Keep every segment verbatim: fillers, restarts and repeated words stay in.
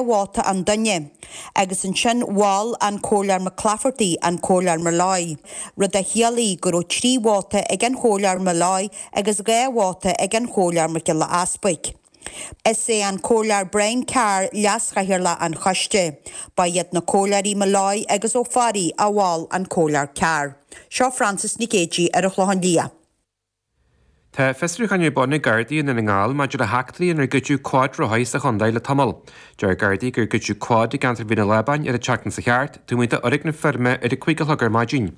vóta an duine, agus ansin mhol an Comhairleoir McClafferty an Comhairleoir Molloy, rud a chiallaigh go raibh trí vóta ag an Chomhairleoir Molloy agus dhá vóta ag an Chomhairleoir Mac Giolla Easpaig. Is é an Comhairleoir Brian Carr leaschathaoirleach an choiste. Ba iad na Comhairleoirí Molloy agus Ó Fearraigh a mhol an Comhairleoir Carr. Seo Francis Nic Géadaigh ar an Chlochán Liath. Tá fiosrúchán ar bun ag Gardaí i nDún na nGall maidir le heachtraí inar goideadh cuadrothair sa chontae le tamall. Deir Gardaí gur goideadh quad i gceantar Mhín an Lábáin ar an tseachtain seo thart, taobh amuigh d'fhoirgneamh feirme ar a cúig a chlog ar maidin.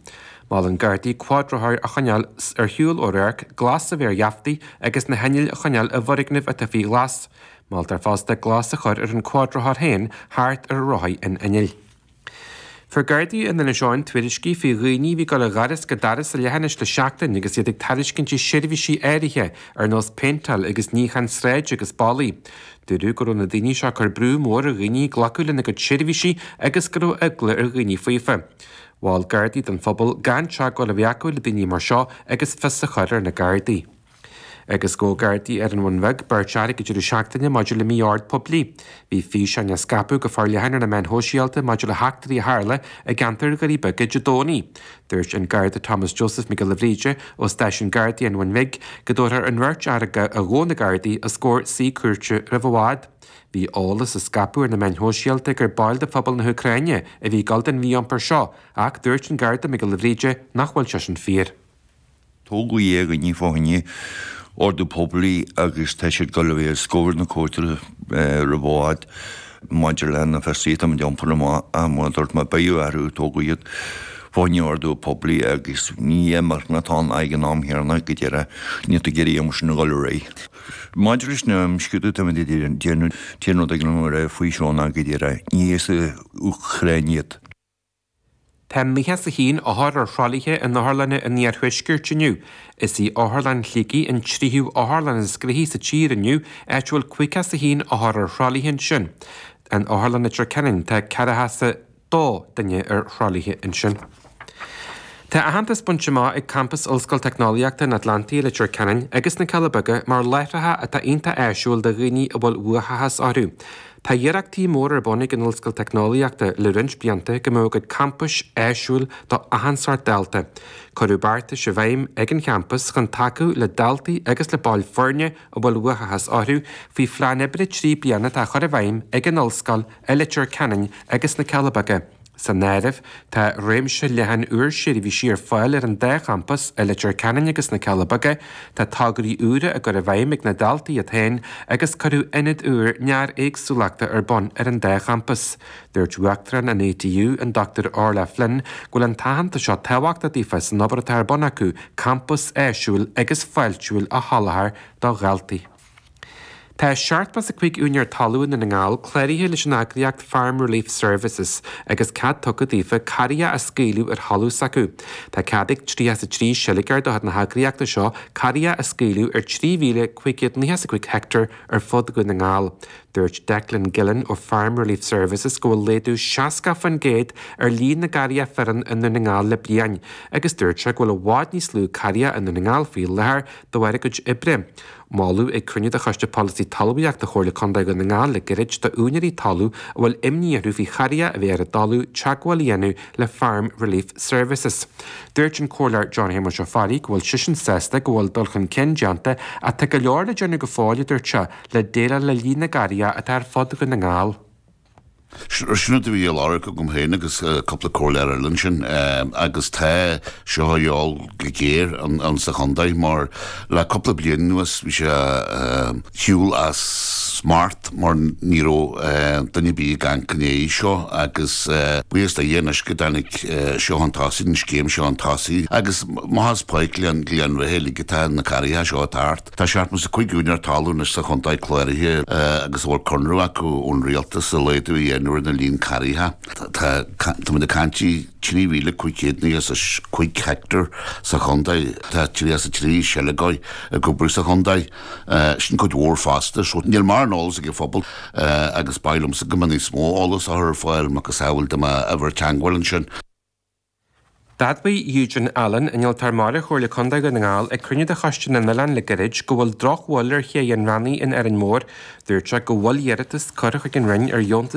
Molann Gardaí cuadrothair a choinneáil ar shiúl ó radharc, glas a bheith ar gheaftaí agus na hinnill a choinneáil i bhfoirgnimh atá faoi ghlas. Moltar fosta glas a chur ar an cuadrothar féin thart ar rothaí an innill. Fuair Gardaí in Inis Eoghain tuairiscí faoi dhaoine a bhí ag dul ó dhoras go doras sa leithinis le seachtain agus iad ag tairiscint seirbhísí áirithe ar nós péinteáil agus níochán sráide agus ballaí. Dúradh go raibh na daoine seo ag cur brú mór ar dhaoine glacadh lena gcuid seirbhísí agus go raibh eagla ar dhaoine faofa. Mhol Gardaí don phobal gan teagmháil a bheith acu le daoine mar seo agus fios a chur ar na Gardaí. Agus ghabh Gardaí ar an Bhun Bheag beirt fhear ag an deireadh seachtaine maidir le mí-ord poiblí. Bhí físeáin á scaipeadh go forleathan ar na meáin shóisialta maidir le heachtraí a tharla i gceantar Dhoirí Beaga Dé Domhnaigh. Dúirt an Garda Thomas Joseph Mac Giolla Bhríde ó stáisiún Gardaí an Bhun Bhig go dtabharfar an bheirt fhear a ghabh na Gardaí os comhair suí cúirte roimh i bhfad. Bhí eolas a scaipeadh ar na meáin shóisialta gur baill de phobal na hÚcráine a bhí ag gabháil don mhí-iompar seo, ach dúirt an Garda Mac Giolla Bhríde nach bhfuil sé sin fíor. Tógadh dhá dhuine fá choinne ordú poiblí agus tá siad ag dul a bheith os comhair na cúirte roimh i bhfad maidir le na fiosruithe atá muid a iompar amach ach mar a dúirt mé beidh orthu tógadh iad fá choinne ordú poiblí agus ní imirce atá ann ag an am chéanna go deireadh níl tú ag iarraidh an sin a dhul ar aghaidh. Maidir leis na imscrúduithe atá muid ag déanamh an t-aon rud a dtig liom a rá faoi seo ná go deireadh ní as an Úcráin iad. Tá nócha is a haon othar ar thralaithe in otharlanna an iarthuaiscirt inniu. Is í Otharlann Shligigh an tríú otharlann is gnoithí sa tír inniu, áit a bhfuil caoga is a haon othar ar thralaithe ansin. In Otharlann Leitir Ceanainn tá ceathracha is a dó duine ar thralaithe ansin. Tá aitheantas bainte amach ag campas Ollscoil Teicneolaíochta an Atlantaigh i Leitir Ceanainn agus na Cealla Beaga mar láithreacha atá iontach áisiúil do dhaoine a bhfuil uathachas orthu. Tá iarrachtaí móra ar bun ag an Ollscoil Teicneolaíochta le roinnt blianta go mbeadh a gcuid campais áisiúil do achan sórt dalta. Cuireadh beartais i bhfeidhm ag an champas chun tacú le daltaí agus le baill foirne a bhfuil uathachas orthu faoi phlean oibre trí bliana atá á chur i bhfeidhm ag an Ollscoil i Leitir Ceanainn agus na Cealla Beaga. San áireamh, tá réimse leathan úr seirbhísí ar fáil ar an dá champas, i Leitir Ceanainn agus na Cealla Beaga, tá tograí úra á gcur i bhfeidhm ag na daltaí iad féin agus cuireadh ionad úr néar-éagsúlachta ar bun ar an dá champas. Dúirt Uachtarán an ATU, an Dr Orla Flynn, go bhfuil an t-aitheantas seo tábhachtach daofa san obair atá ar bun acu campas áisiúil agus fáiltiúil a sholáthar do dhaltaí. Tá seachtó is a cúig úinéir talún i nDún na nGall cláraithe leis an eagraíocht Farm Relief Services agus cead tugtha daofa carraigheacha a scaoileadh ar thalamh s'acu. Tá cead ag tríocha is a trí seilgeoir de chuid na heagraíochta seo carraigheacha a scaoileadh ar trí mhíle cúig chéad nócha is a cúig heicteár ar fud Dhún na nGall. Dúirt Declan Gillen ó Farm Relief Services go bhfuil laghdú seasca faoin gcéad ar líon na gcarraigheacha fireann i nDún na nGall le bliain agus dúirt sé go bhfuil i bhfad níos lú carraigheacha i nDún na nGall faoi láthair de bharr a gcuid oibre. Moladh ag cruinniú de Choiste Polasaí Talmhaíochta Chomhairle Contae Dhún na nGall le gairid d'úinéirí talún a bhfuil imní orthu faoi charraigheacha a bheith ar a dtalamh teagmháil a dhéanamh le Farm Relief Services. Dúirt an Comhairleoir John Shéamuis Ó Fearraigh go bhfuil seisean sásta go bhfuil dul chun cinn déanta ach tá go leor le déanamh go fóill, a dúirt sé, le déileáil le líon na gcarraigheacha atá ar fud Dhún na nGall. Sin rud a bhí á lorg agam féin agus cúpla comhairleoir eile ansin agus tá seo a dhíobháil go géar ann sa chontae mar le cúpla bliain anuas bhí sé shiúl as smacht mar ní raibh duine ar bith ag amharc i ndiaidh seo agus buíochas do Dhia anois go dtáinig seo chun tosaigh, an scéim seo chun tosaigh agus maith as Páirc Ghleann Bheatha uilig atá na carraigheacha seo ag teacht. Tá seachtó is a cúig úinéir talún anois sa chontae cláraithe agus a bhfuil conradh acu ón rialtas a laghdú a dhéanamh ar na líon carraigheacha. Tá táimid ag caint trí mhíle cúig chéad nócha is a cúig heicteár sa chontae. Tá tríocha is a trí seilgeoir ag obair sa chontae. Sin cuid mhór fosta. So níl mórán eolas ag an phobal agus ba mhaith liomsa go mbeadh níos mó eolas á chur ar fáil macasamhail dá mbeadh uimhir teagmháil ansin. D'admhaigh Eugene Allen, innealtóir mara Chomhairle Contae Dhún na nGall, ag cruinniú de Choiste na nOileán le gairid go bhfuil drochbhail ar ché an Rannaigh in Árainn Mhór. Dúirt sé go bhfuil iarratas curtha chuig an Roinn ar dheontas